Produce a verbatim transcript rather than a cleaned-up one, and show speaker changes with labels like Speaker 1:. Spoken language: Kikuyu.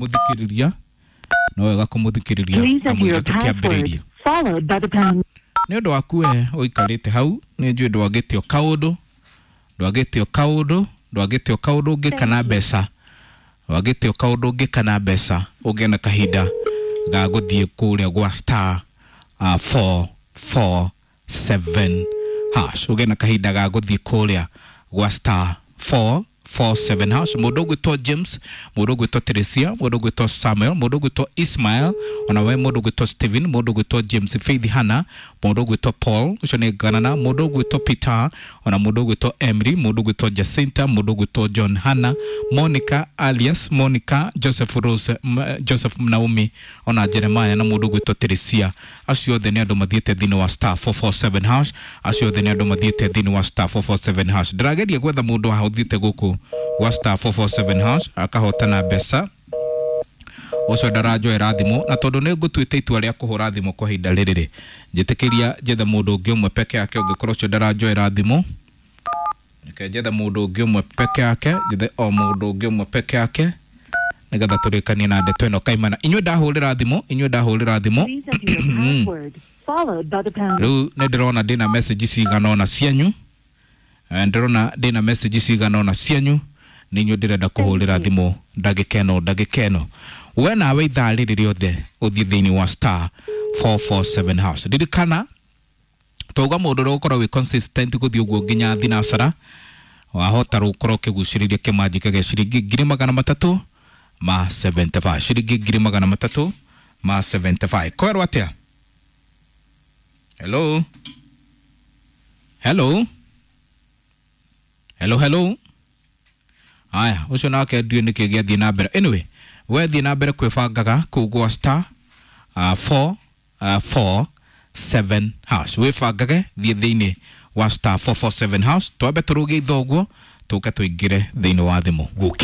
Speaker 1: Mũthikĩrĩria, no wega kũmũthikĩrĩria
Speaker 2: Please enter
Speaker 1: kamũira
Speaker 2: your
Speaker 1: tũkĩambĩrĩirie.
Speaker 2: password followed by the pound.
Speaker 1: Nĩ ũndũ waku we ũikarĩte hau, nĩ njũĩ ndwagĩtio kaũndũ, ndwagĩtio kaũndũ, ndwagĩtio kaũndũ ũngĩka na mbeca, ndwagĩtio kaũndũ ũngĩka na mbeca ũngĩona na kahinda ga gũthiĩ kũrĩa gwa star uh, four four seven hash, ũgĩe na kahinda ga gũthiĩ kũrĩa gwa star four four seven hash. Mũndũ ũgwĩtwo James, mũndũ ũgwĩtwo Teresia, mũndũ ũgwĩtwo Samuel, mũndũ ũgwĩtwo Ismael, ona we mũndũ ũgwĩtwo Stephen, mũndũ ũgwĩtwo James, Faith Hannah, mũndũ ũgwĩtwo Paul, ũcio nĩ Ganana, mũndũ ũgwĩtwo Peter, ona mũndũ ũgwĩtwo Emily, mũndũ ũgwĩtwo Jacinta, mũndũ ũgwĩtwo John Hannah, Monica alias Monica, Joseph Rose, M- Joseph Naomi, ona Jeremiah na mũndũ ũgwĩtwo Teresia. Acio othe nĩ andũ mathiĩte thĩinĩ wa star four four seven hash. Acio othe nĩ andũ mathiĩte thĩinĩ wa star four four seven hash. Ndĩrageria gwetha mũndũ haha ũthiĩte gũkũ gwa star four four seven hash akahotana mbeca, ũcio ndaranjoera thimũ, na tondũ nĩ ngũtuĩte itua rĩa kũhũra thimũ kwa ihinda rĩrĩ rĩ, njĩtĩkĩria njethe mũndũ ũngĩ ũmwe peke yake. Ũngĩkorwo ũcio ndaranjoera thimũ, reke njethe mũndũ ũngĩ ũmwe peke yake, njethe o mũndũ ũngĩ ũmwe peke yake nĩgetha tũrĩkanie na ndeto ĩno kaimana. Inyuĩ ndahũrĩra thimũ, inyuĩ ndahũrĩra thimũ.
Speaker 2: Please enter your password followed by the pound.
Speaker 1: Rĩu nĩ ndĩrona ndĩna message cigana ũna cianyu. Eh, ndĩrona ndĩna message cigana ũna cianyu, nĩ inyuĩ ndĩrenda kũhũrĩra thimũ ndagĩka ĩno, ndagĩka ĩno. We nawe ithaa rĩrĩ rĩothe ũthiĩ thĩinĩ wa star four four seven hash. Ririkana twauga mũndũ ũrĩa ũgũkorwo wĩ consistent gũthiĩ ũguo nginya thinacara, wahota gũkorwo ũkĩgucĩrĩria kĩmanjĩka gĩa ciringi ngiri magana matatũ ma seventy-five, ciringi ngiri magana matatũ ma seventy-five. Kwerwo atĩa? Hello, hello, hello, hello. Aya, ũcio nake ndiũĩ nĩkĩ gĩathiĩ na mbere. Anyway, we thiĩ na mbere kwĩbangaga kũu gwa star uh, four uh, four seven hash. Wĩbangage, thiĩ thĩinĩ wa star four four seven hash. Twambe tũrũgie itho ũguo, tũke tũingĩre thĩinĩ wa thimũ.
Speaker 3: Gũkena.